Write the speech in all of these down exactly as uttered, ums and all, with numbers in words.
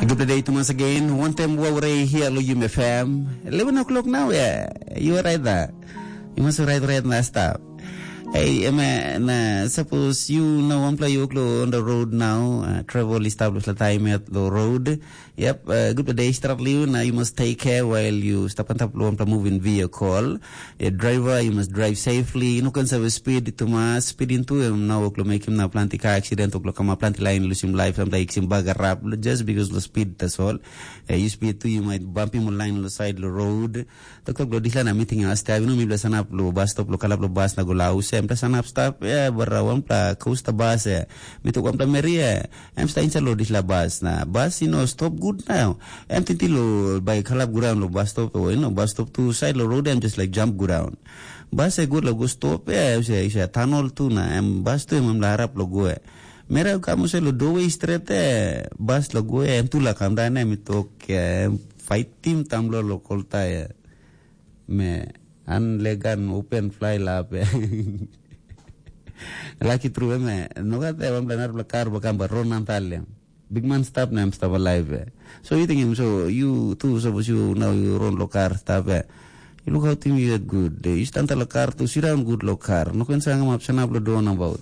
Good day to once again. One time we were here lo Yum F M. Eleven o'clock now, yeah. You are right there. You must right right now stop. Hey, ema na suppose you know one play you on the road now. Uh, travel is established the time at the road. Yep, uh, good day start liu. Now you must take care while you step on top of one moving vehicle. A driver, you must drive safely. You know, can serve speed to mass speeding to him now. Oklo make him na planti car accident. Oklo kama planti line lose him life. Sometimes him bag rap just because the speed, that's all. Uh, you speed too, you might bump him on line on the side of the road. Tok tok lo disla na meeting ya step. You know, mi bla sanap lo bus stop lo kalap lo bus na go lau. Sem ta sanap stop. Yeah, barra one pla coaster bus. Yeah. Mi tok one pla meri. Yeah. Em sta inside lo disla bus na bus, you know, stop good now. Em tinti lo by kalap ground lo bus stop. Oh, you know, bus stop to side lo road. Em just like jump ground. Bus e good lo go stop. Yeah, you say, you say tunnel tu na. Em bus tu em, em la harap lo go. Mera kamu se lo doorway straight. Eh, bus lo go. Em tu la kam dan em tok. Eh, fight team tam lo lo kolta. Eh. Me an legan open fly la pe. Laki tru me no gat e wan plan arpela kar bakam ba ron antaliam. Big man stap na em stap alive. So you think him so you too suppose you now you run lo kar stap. You look how thing you get good. You stand la kar to sit down good lo kar. No can sang up sanap lo don about.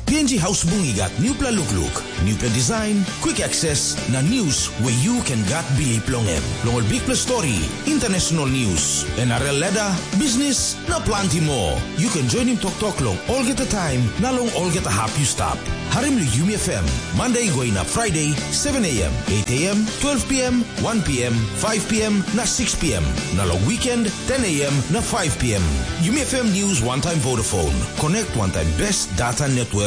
P N G House Bungi gat newpela lukluk, newpela design, quick access, na news where you can gat bilip long em. Long ol bikpela story, international news, N R L ladder, business, na planti more. You can join him tok tok long olgeta time, na long olgeta hap you stap. Harim lo Yumi F M, Monday go inap Friday, seven a.m., eight a.m., twelve p.m., one p.m., five p.m., na six p.m. Na long weekend, ten a.m. na five p.m. Yumi F M News one time Vodafone. Connect one time best data network